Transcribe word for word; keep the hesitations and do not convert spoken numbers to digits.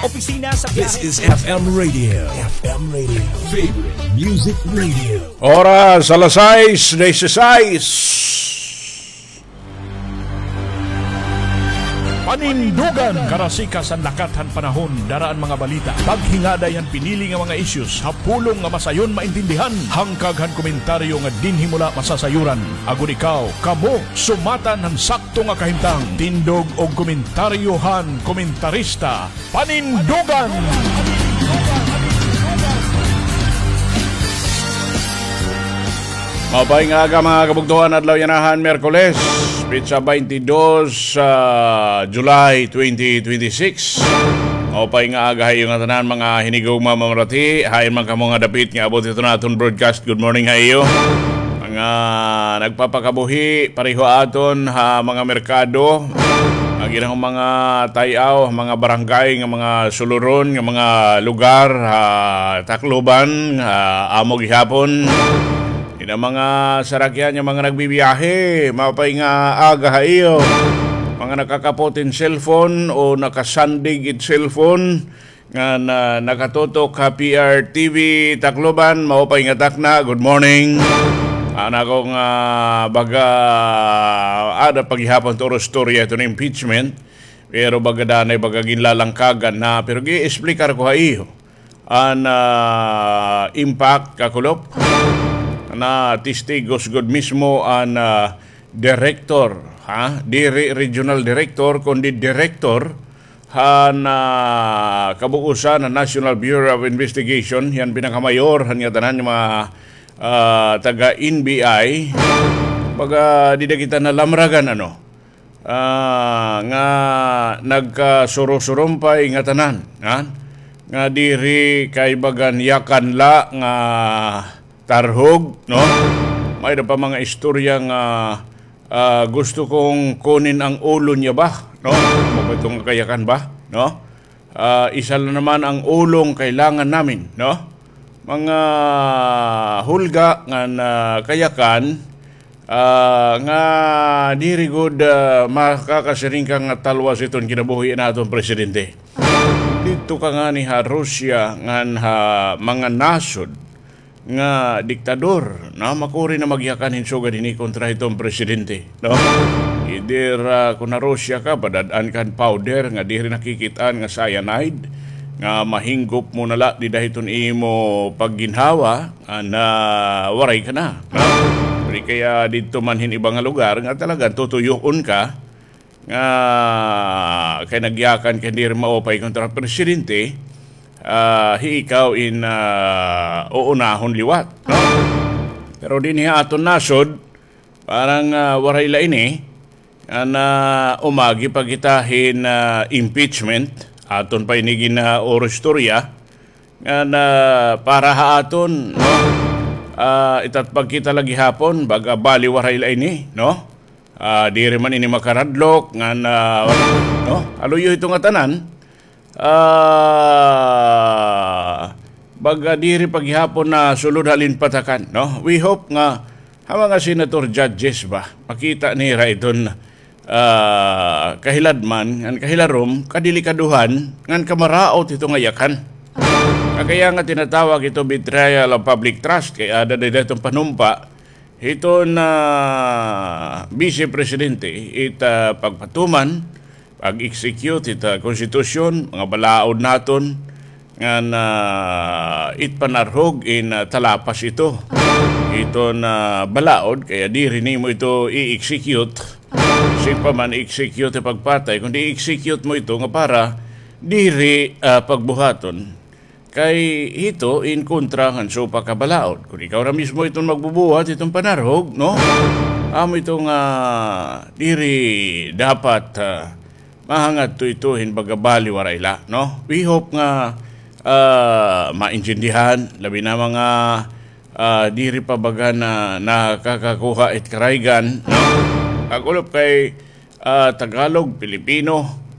Opisina sa This biyahe. Is F M Radio. F M Radio. Favorite Music Radio. Oras, alas sais dieciséis. Panindugan, karasikas han lakat han panahon, dara an mga balita. Paghingaday han pinili nga mga issues ha pulong nga masayon maintindihan. Hangkag han komentaryo nga dinhi mo la masasayoran. Agod ikaw, kamo, sumatan han sakto nga kahimtang. Tindog og komentaryo han komentarista. Panindugan! Maupay nga aga, mga kabugtoan, adlaw yana han Miyerkules, petsa twenty-dos, ah, July twenty twenty-six. Maupay nga aga ha iyo ngatanan, mga hinigugma, mga marati. Hain man kamo nga dapit nga abot hiton aton broadcast, good morning ha iyo. Mga nagpapakabuhi, pareho aton ha mga merkado, ang ilang mga tay-aw, mga barangay, nga mga suluron, nga mga lugar, ha Tacloban, ha amo gihapon. Ina mga sarakyan nga mga nagbibiyahe, maupay nga aga ha iyo. Mga nakakapot hin cellphone o nakasandig it cellphone, nga na, nakatutok ha P R T V Tacloban, maupay nga takna, good morning. An ako nga baga, ada pa gihapon turo storya iton impeachment, pero baga danay baga ginlalangkagan na, pero gi-explicar ko ha iyo an, ah, impact, kakulop, na testigos gud mismo an, ah, director, ha? Diri regional director, kundi director han, ah, kabuusan han National Bureau of Investigation, hiyan pinakamayor han ngatanan nga mga, ah, taga N B I. Baga dida kita nalamragan, ano? Ah, nga nagkasurusurumpay ngatanan, ha? Nga diri kay bagan yakan la nga tarhog, no? May-ada pa mga istorya nga, ah, gusto kong kunin ang ulo niya ba, no? Amo ba ito nga kayakan ba, no? Ah, isa la naman ang ulong kailangan namin, no? Mga hulga ngan kayakan, ah, nga diri gud, ah, makakasiring ka nga talwas iton kinabuhi han aton presidente. Didto ka ngani ha Russia ngan ha mga nasod nga diktador, no? Makuri na magyakan hin sugad hini kontra hiton presidente, no? Either, ah, kon ha Russia ka, padad-an ka hin powder nga diri nakikit-an nga cyanide, nga mahinggop mo na la dida hiton imo pagginhawa, ah, na waray ka na, no? Diri kaya didto man hin iba nga lugar nga talagang tutuyoon ka, nga kay nagyakan kay diri maupay kontra presidente, ah, hi ikaw in, ah, uunahon liwat, no? Pero dinhi ha aton nasod, parang, ah, waray la ini, an, ah, umagi pa kita hin, ah, impeachment, aton pa ini gin, ah, oro istorya, nga na para ha aton, no? Ah, itatpag kita la gihapon, baga bali waray la ini, no? Ah, diri man ini makaradlok, nga na, no? Haluyo ito ngatanan, ah, baga diri pa gihapon nasulod ha halin patakan, no? We hope nga ha mga senator judges ba, makita nira iton, ah, kahiladman, ngan kahilarom, kadelikadohan, ngan kamaraot ito nga yakan. Kay kaya nga tinatawag ito betrayal of public trust, kay ada dida iton panumpa, hiton, ah, Vice Presidente, it, ah, pagpatuman, pag-execute it, ah, konstitusyon, mga balaod naton, ngan, ah, it panarhog in, ah, talapas ito. Iton, ah, balaod, kaya diri nimo ito i-execute. Bisan pa man i-execute it pagpatay, kundi i-execute mo ito nga para diri, ah, pagbuhaton. Kay hito in kontra ngan supak ha balaod. Kon ikaw na mismo iton magbubuhat iton panarhog, no? Amo ito nga diri dapat, ah, mahangadto ito hin baga bali waray la, no? We hope nga, ah, maintindihan, labi na mga, ah, diri pa baga na nakakakuha it karaygan, no? Kakulop kay, ah, Tagalog, Pilipino,